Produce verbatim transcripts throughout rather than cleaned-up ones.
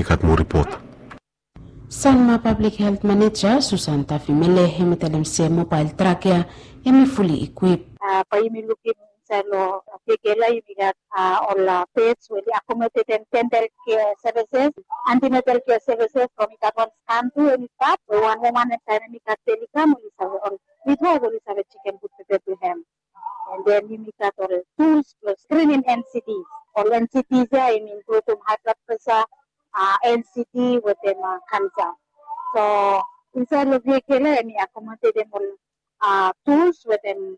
I gat moa ripot. Sanma Public Health Manager Susan Tafimele hemi talem se mobael trak ya hemi fuli ikwip. Bae yumi lukim insaed long Piegela yumi gat ol beds we oli akomodetem dental care services, antenatal care services from i gat wan scan tu hemi stap we wan woman hemtaem hemi gat beli kam oli save ol midwaef oli save jekem gud pepe blong hem. And then yumi gat ol tools blong screening N C Ds. Ol N C Ds ya yumi inkludum high blood pressure, N C D wetem cancer. So insaed long vehicle ya hemi akomodetem ol tools wetem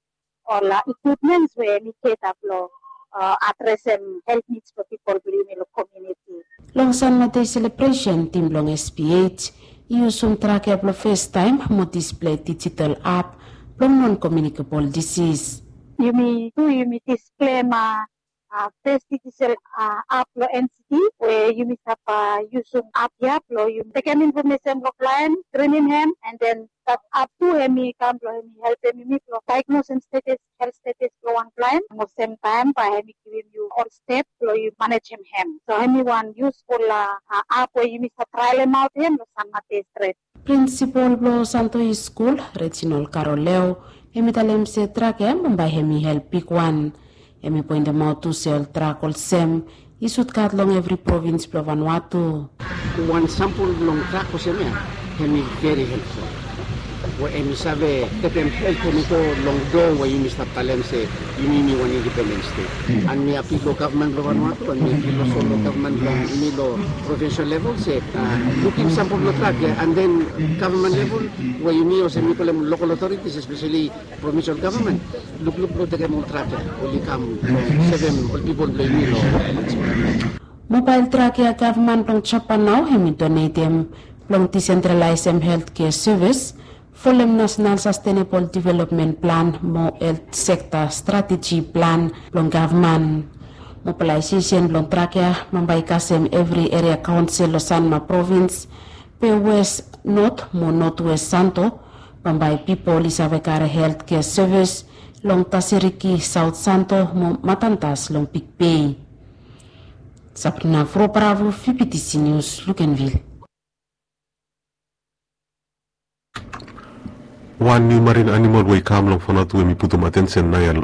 ol equipments we hemi cater blong adresem health needs blong pipol blong yumi long community. Long San Mateo selebresen, tim blong S P H i yusum trak ya blong festaem mo displei digital app blong non communicable disease. Yumi tu yumi displei ma fes digital app blong N C D we yumi stap yusum app ya blong yumi tekem infomesen blong klaen, skrinim hem, and then dat app tu hemi kam blong hemi helpem yumi blong daegnosem status, health status blong wan klaen. Mo semtaem bae hemi givim yu ol step blong yu manejem hem. So hemi wan yusful app we yumi save traelemaot hem long San Mateo stret. Prinsipol blong Santo East Skul, Reginald Karoleo, hemi talem se trak ya bambae hemi help bigwan. Hemi poentemaot tu se ol trak olsem i sud gat long evri provins blong Vanuatu. Wan sampol blong trak olsem ya hemi veri helpful. We hemi save stepem help hemi go long doa we yumi stap talem se yumi yumi wan independen stet. And mi apil long gavman blong Vanuatu and mi apil olsem long gavman blong yumi long provinsel level se lukim sampol blong trak ya, and then gavman level we yumi olsem mi kolem lokal otoritis espeseli provinsel gavman lukluk blong tekem ol trak ya oli kam blong sevem ol pipol blong yumi long. Mobael trak ya gavman blong Japan nao hemi donetem blong disentralaesem healthcare sevis folem Nasenal Sastenebol Developmen Plan mo Helt Sekta Strateji Plan blong gavman. Mobalaesesen blong trak ya bambae i kasem evri eria kaonsel long Sanma provins, be Wes, Not mo Notwes Santo. Bambae pipol i save kare healthcare sevis long Taseriki, Saot Santo mo Matantas long Bigbei. Sabrina Frobravo, V B T C News, Luganville. Wan niu marin animol we i kam long Vanuatu hemi putum atensen naoia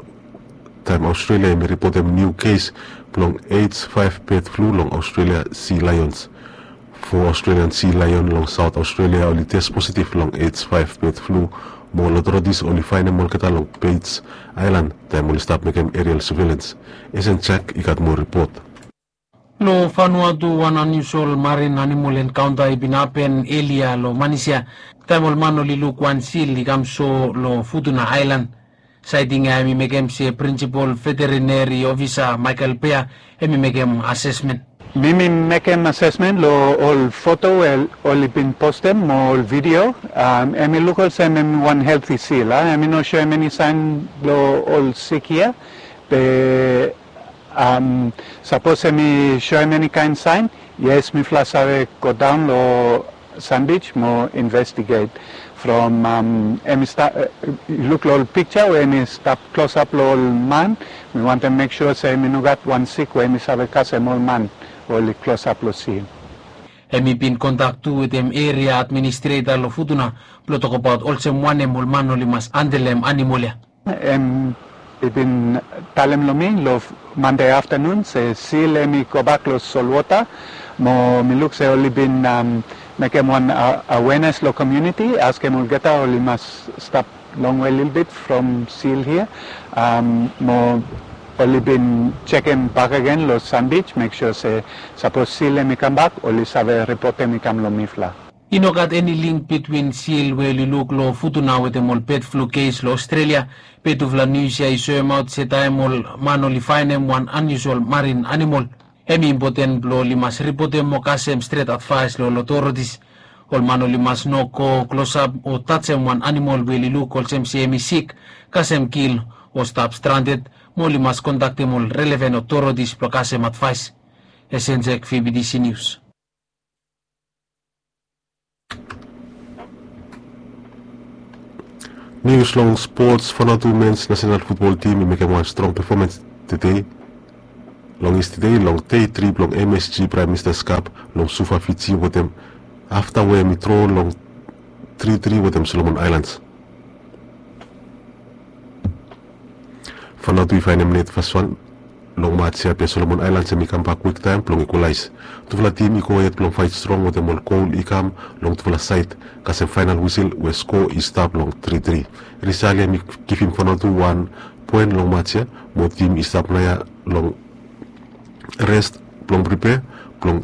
taem Aostralia hemi ripotem niu kes blong H five bird flu long Aostralia sea lions. Fo Australian sea lion long Saot Aostralia oli tes positif long H five bird flu, mo ol otoritis oli faenem olgeta long Bates Aelan taem oli stap mekem erial suvelens. Esen Jack i gat moa ripot. Long Vanuatu wan aniusual marin animol enkaonta i bin hapen elia long manis ya taem ol man oli luk wan sil i kam so long Futuna Aelan. Saeting ya hemi mekem se prinsipol veterineri ofisa Michael Pea hemi mekem asesmen. Mi mi mekem asesmen long ol foto we oli bin postem mo ol vidio. Hemi luk olsem hemi wan helti sil a, hemi no soem eni saen blong ol sik hia. Be sapos hemi soem eni kaen saen, yes, mifala save godaon long Sandbij mo investiget. From hemi luk long ol piksa we hemi stap klosap long ol man, mi wantem mek sua se hemi no gat wan sik we hemi save kasem ol man we oli klosap long sil. Hemi bin kontak tu wetem eria administreta long Futuna blong tokbaot olsem wanem ol man oli mas handelem animol ya. Hem i bin talem long mi long Mande aftanun se sil hemi gobak long solwota, mo mi luk se oli bin mekem wan awenes long komuniti, askem olgeta oli mas stap longwe lelebet from sil hia. Mo oli bin jekem bakegen long Sandbij, mek sua se sapos sil hemi kambak oli save ripotem i kam long mifala. I no gat eni link bitwin sil we oli luk long Futuna wetem ol bird flu kes long Australia. Be tufala nius ya i soemaot se taem ol man oli faenem wan aniusual marin animol, hemi impoten blong oli mas ripotem mo kasem stret advaes long ol otoritis. Ol man oli mas no go klosap o tajem wan animol we oli luk olsem se hemi sik, kasem kil, o stap stranded, mo oli mas kontaktem ol relevan otoritis blong kasem advaes. Esen Jack, V B T C News. Nius long spots. Vanuatu mens nasenal futbol tim i mekem wan strong pefomans tede. Long yestede long dei tri blong M S G Prime Minister's Cup long Suva, Fiji, wetem afta we hem i dro long tri tri wetem Solomon Islands. Vanuatu i faenem net fas wan long mats ya, be Solomon Islands hem i kambak kwiktaem blong ikwalaes. Tufala tim i go hed blong faet strong wetem ol gol i kam long tufala saed, kasem faenal wisil we skoa i stap long tri tri. Risal ya hem i givim Vanuatu wan poen long mats ya, mo tim i stap naoia long res blong pripea blong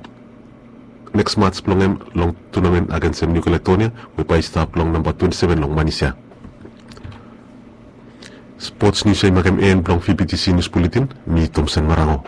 neks mats blong hem long tunamen agensem Niu Kaledonia, we bae i stap long namba twenti seven long manis ya. Spots nius ya i makem en blong V B T C Nius Buletin. Mi Tomsen Marango.